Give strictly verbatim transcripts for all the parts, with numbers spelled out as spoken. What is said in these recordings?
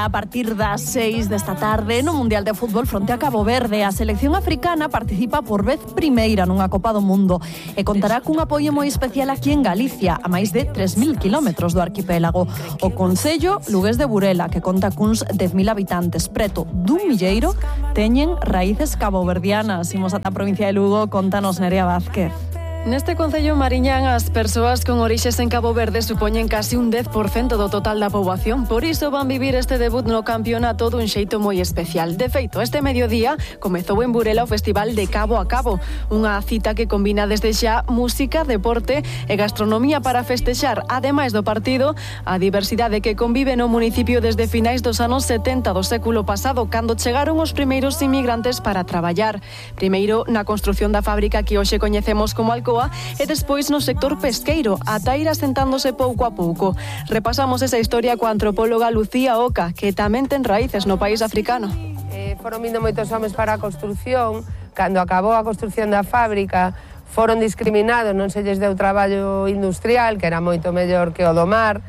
A partir das seis desta tarde no Mundial de Fútbol fronte a Cabo Verde, a selección africana participa por vez primeira nunha Copa do Mundo e contará cun apoio moi especial aquí en Galicia, a máis de tres mil kilómetros do arquipélago. O concello Lugués de Burela, que conta cuns dez mil habitantes, preto dun milleiro, teñen raíces caboverdianas. Imos ata a provincia de Lugo, contanos Nerea Vázquez. Neste concello Mariñán, as persoas con orixes en Cabo Verde supoñen casi un dez por cento do total da poboación. Por iso van vivir este debut no campeonato dun xeito moi especial. De feito, este mediodía comezou en Burela o Festival de Cabo a Cabo, unha cita que combina desde xa música, deporte e gastronomía para festexar, ademais do partido, a diversidade que convive no municipio desde finais dos anos setenta do século pasado, cando chegaron os primeiros inmigrantes para traballar. Primeiro na construción da fábrica que hoxe coñecemos como Alcoa, e despois no sector pesqueiro, ata ir asentándose pouco a pouco. Repasamos esa historia coa antropóloga Lucía Oca, que tamén ten raíces no país africano. Eh, foron vindo moitos homes para a construción. Cando acabou a construción da fábrica, foron discriminados, non se lles deu traballo industrial, que era moito mellor que o do mar,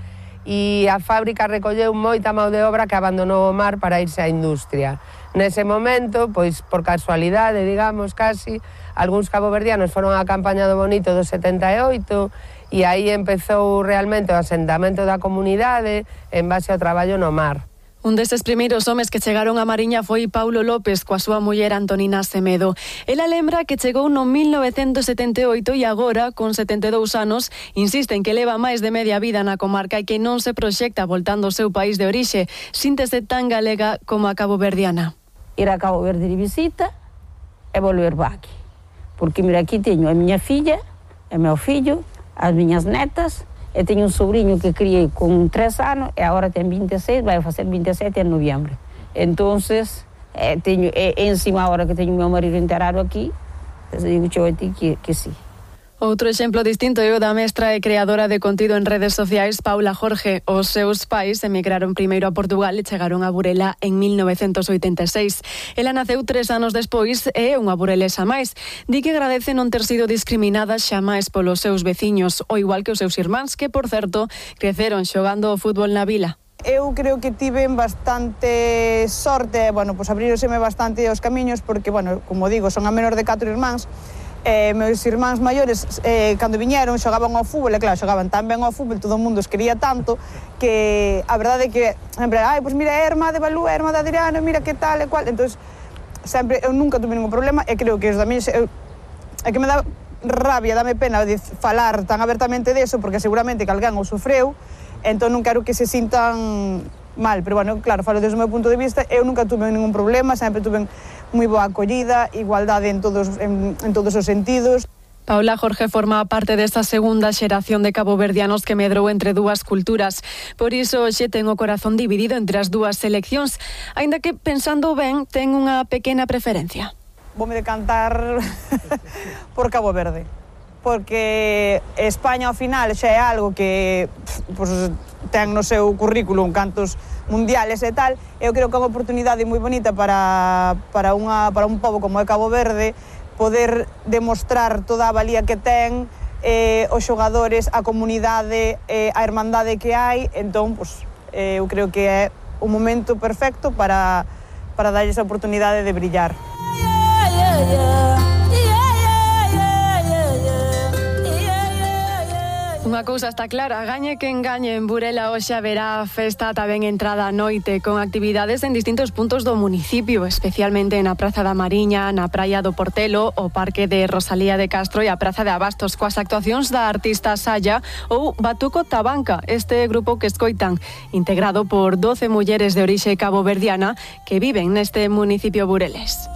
e a fábrica recolleu moita mão de obra que abandonou o mar para irse á industria. Nese momento, pois por casualidade, digamos, casi, algúns caboverdianos foron á campaña do Bonito do setenta e oito e aí empezou realmente o asentamento da comunidade en base ao traballo no mar. Un deses primeiros homes que chegaron a Mariña foi Paulo López coa súa muller Antonina Semedo. Ela lembra que chegou no mil novecentos setenta e oito e agora, con setenta e dous anos, insiste en que leva máis de media vida na comarca e que non se proxecta voltando ao seu país de orixe, síntese tan galega como a caboverdiana. Ir a Cabo Verde de visita e volver para aquí. Porque, mira, aquí teño a miña filla, o meu fillo, as miñas netas, e teño un sobrinho que criei con tres anos e agora ten vinte e seis, vai facer vinte e sete en noviembre. Entonces, eh, teño, e, encima agora que teño o meu marido enterrado aquí, digo yo a ti que, que sí. Outro exemplo distinto é o da mestra e creadora de contido en redes sociais Paula Jorge. Os seus pais emigraron primeiro a Portugal e chegaron a Burela en mil novecentos oitenta e seis. Ela naceu tres anos despois e é unha burelesa máis. Di que agradece non ter sido discriminada xamais polos seus veciños, o igual que os seus irmáns, que, por certo, creceron xogando o fútbol na vila. Eu creo que tiven bastante sorte, bueno, pois abriroseme bastante os camiños, porque, bueno, como digo, son a menor de catro irmáns. Eh, meus irmáns maiores, eh, cando viñeron, xogaban ao fútbol, e claro, xogaban tan ben ao fútbol, todo o mundo os quería tanto, que a verdade é que sempre, ai, pois mira, é a irmá de Balú, é a irmá de Adriana, mira que tal e cual. Entón, sempre, eu nunca tuve ningún problema, e creo que os da miña, eu, é que me dá rabia, dame pena de falar tan abertamente deso, porque seguramente que alguén o sofreu, entón non quero que se sintan mal, pero bueno, claro, falo desde o meu punto de vista, eu nunca tuve ningún problema, sempre tuve moi boa acollida, igualdade en todos, en, en todos os sentidos. Paula Jorge forma parte desta segunda xeración de caboverdianos que medrou entre dúas culturas. Por iso hoxe ten o corazón dividido entre as dúas seleccións, aínda que, pensando ben, ten unha pequena preferencia. Voume decantar por Cabo Verde, porque España ao final xa é algo que pues, ten no seu currículum cantos mundiales e tal. Eu creo que é unha oportunidade moi bonita para, para, unha, para un pobo como é Cabo Verde poder demostrar toda a valía que ten, eh, os xogadores, a comunidade, eh, a hermandade que hai. Entón, pues, eh, eu creo que é o momento perfecto para, para dar esa oportunidade de brillar. Yeah, yeah, yeah. Unha cousa está clara, gañe que engañe, en Burela hoxe haberá festa tamén entrada a noite, con actividades en distintos puntos do municipio, especialmente na Praza da Mariña, na Praia do Portelo, o Parque de Rosalía de Castro e a Praza de Abastos, coas actuacións da artista Saya ou Batuco Tabanca, este grupo que escoitan, integrado por doce mulleres de orixe caboverdiana que viven neste municipio bureles.